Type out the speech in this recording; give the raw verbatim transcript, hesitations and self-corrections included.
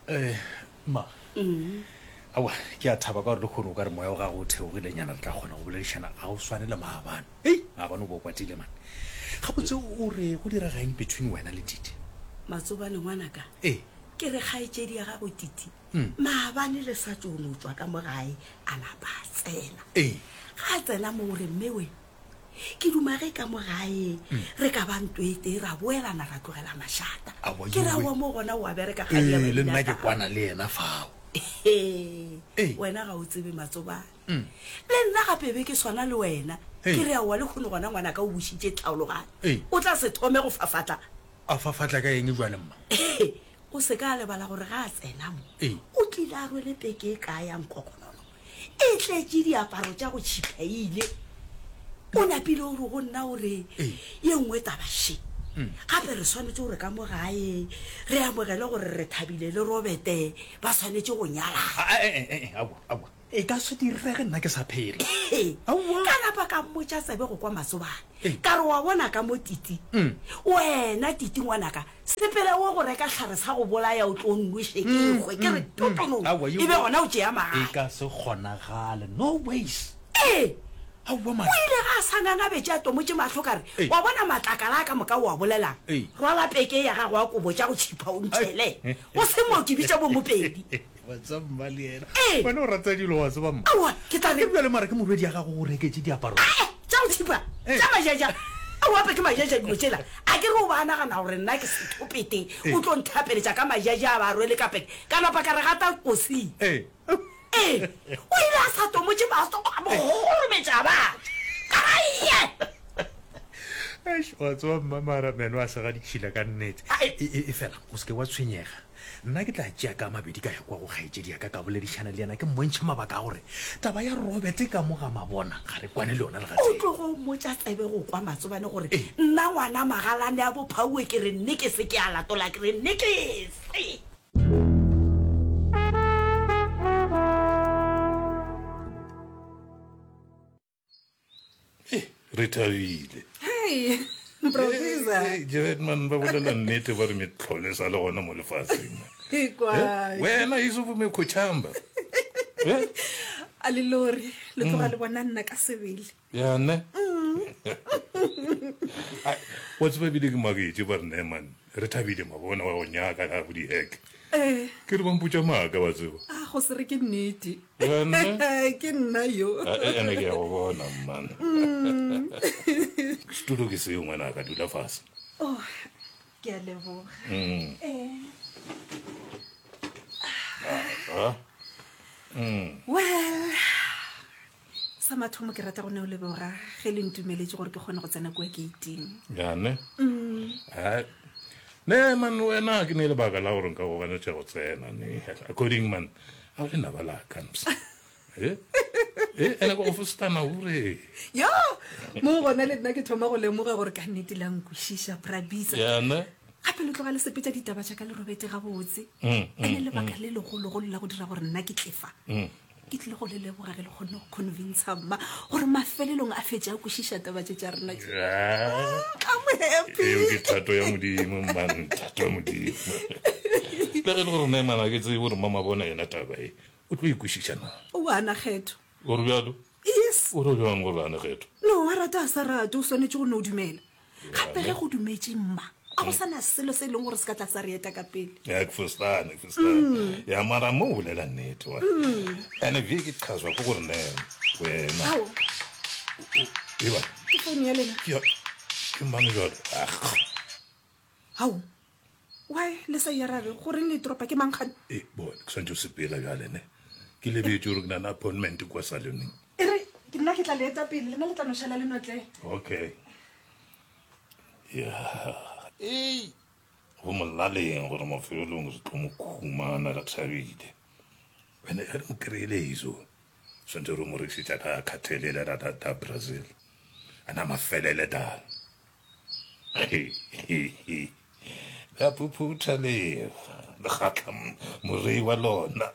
Eh, ma aowa ke a thaba ka gore le kgone o ka re moya wa gago o theogilenyana re tla kgona go boledišana ga o swane le maabane ei maabane o bo o kwatile mane gabotse o re go direga eng between wena le titi Matsobane ngwanaka ee ke re kgaetšedi ya gago Titi maabane le sa tšo no tšwa ka mo gae a napa a tsena ee ga a tsena mo o re mmewe ke duma ge ka mo gae re ka ba nto e tee ra boelana ra tlogela mašata Aowa, ke ra yowe. wa mo gona o a bereka kgadi ya ee le babina nna ke taba. kwana le yena fao Ee, Ee. wena ga o tsebe matsobane le nna gape be ke swana le wena Ee. ke re aowa le kgone gona ngwanaka o bušitše tlhaologanyo Ee. o tla se thome go fafatla a fafatla ka eng jale mma o se ka lebala gore ga a tsena mo Ee. o tlile a rwele peke e kae ya nkokonono e tletše diaparo tša go tšhiphaile o napile o re go nna gore Ee. ye nngwe tabaše gape re swanetše gore ka mo gae re amogele gore re thabile le robete ba swanetše go nyalana Ah, eh, eh, eh, aowa aowa e ka se direge nna ke sa phela Ee. Aowa. ka napa ka mmotša tsebe go kwa matsobane Ee. ka re wa bona ka mo titi wena titi ngwanaka sepele wo go reka tlhare sa go bolaya o tlo nnoše ke kgwe ke re totono Aowa, e be gona o tšea e magae ka se kgonagale no ways ee aowa o man ile ga a sa ngangabetse a tomotse matlho ka re Ee. wa bona matlakala a ka moka o a bolelang Ee. rwala peke ya gago a kobo tša go tšhipha o ntšhele go se mo ke bitša bomopedi wa tseba mma le yena Ee. wena o rata dilo wa tseba mma aowa ke tla ke re bjale mara ke morwedi ya gago o reketse diaparo Ae, tša go thipa Ee. tša majaja ao ape ke majaja dilo tsela a ke re o ba nagana gore nna ke sethopete o tlo nthapeletša ka majaja a ba rwele ka peke ka napa ka re gata kosing ee ee o ile a sa tomotse maso a mogorometša batho ka raie Eish, wa tseba mma mara meno a sega ditšhila ka nnete Ai. e e- e fela o seke wa tshwenyega nna ke tla tšea ka mabedi ka ya kwa go kgaetšedi ya ka ka boledišana le yena ke mmontšhe mabaka a gore taba ya robert ka mo ga mabona ga re kwane le yona le o gatee tlogo mmotša tsebe go kwa matsobane gore Ee. nna ngwana magalane a bophauwe ke re nne ke se ke a latola ke re nne ke se re thabile Hey, Professor. Eh, Jared man ba bolela nnete ba re metlhole sa le gona mo lefatsheng Ikwa. Eh, wena iso mekgotšhamba Eh, A le lori, le tloga le bona nna ka sebele. ya ne Ai, wa tseba ebile ke maketse ba re ne man re thabile mabona wa go nyaka ka go di-hack Eh, ke re ba mpotša maaka wa tseba a go se re ke nnete. Ya ne? Ke nna yo. Ah, eh, ene ke ya go bona man setulo ke seo ngwana a ka dula fase Oh, ke a leboga. Mm. Eh, Ah, well, sa mathomo ke rata go ne o leboga ge le ntumeletse gore ke kgone go tsena kua gate-ing. ya ne Ai, ne man wena ke ne lebaka la gore nka go ganetša go tsena ne according man a o lenaba la ka mpsa e ene ko go fostana ore Yo, mo gona le nna ke thoma go lemoga gore ka nnete la nkwešiša Brabisa. ya ne gape le tloga le sepetša ditaba tša ka le robete gabotse Mm, ene lebaka le legologolo la go dira gore nna ke tlefa ke tlile go le leboga ge le kgonne go convinca mma gore mafelelong a fetse a kwešiša taba tše tša rena tše. Ya. I'm happy. eo ke thato ya modimo man thato ya modimo le ge e le gore ne mana ke tsebe gore mama bona yena taba e o tlo ikwešiša na o ana kgetho ore bjalo yes o re bjang gore ane kgetho no a rata a sa rate o swanetše go ne o dumela gape ge go dumetše mma a go sana selo se e leng gore se ka tla sa re eta ka pele ya ke fostane ke fostane ya mara mo o bolela nnete wa ene vie ke qhazwa ke gore ne wena ao eba ke founu ya lena ke ya- ke mang jalo ah ao why le sa e arabe goreng le toropa ke mankgane e bone ke swantse o sepela bjale ne ke lebetse gore ke na le appointment kwa saloneng e re ke nna ke tla le eta pele lena le tla no šala le notle okay ya ei go molaleng gore mafelelong re tlo mo khumana re thabile ene ge re mo kry-ile iso swantse re mo rekisetša ka kgathelele ra da brazil ana mafelele dala la phuphutha lefa le kgatla morei wa lona.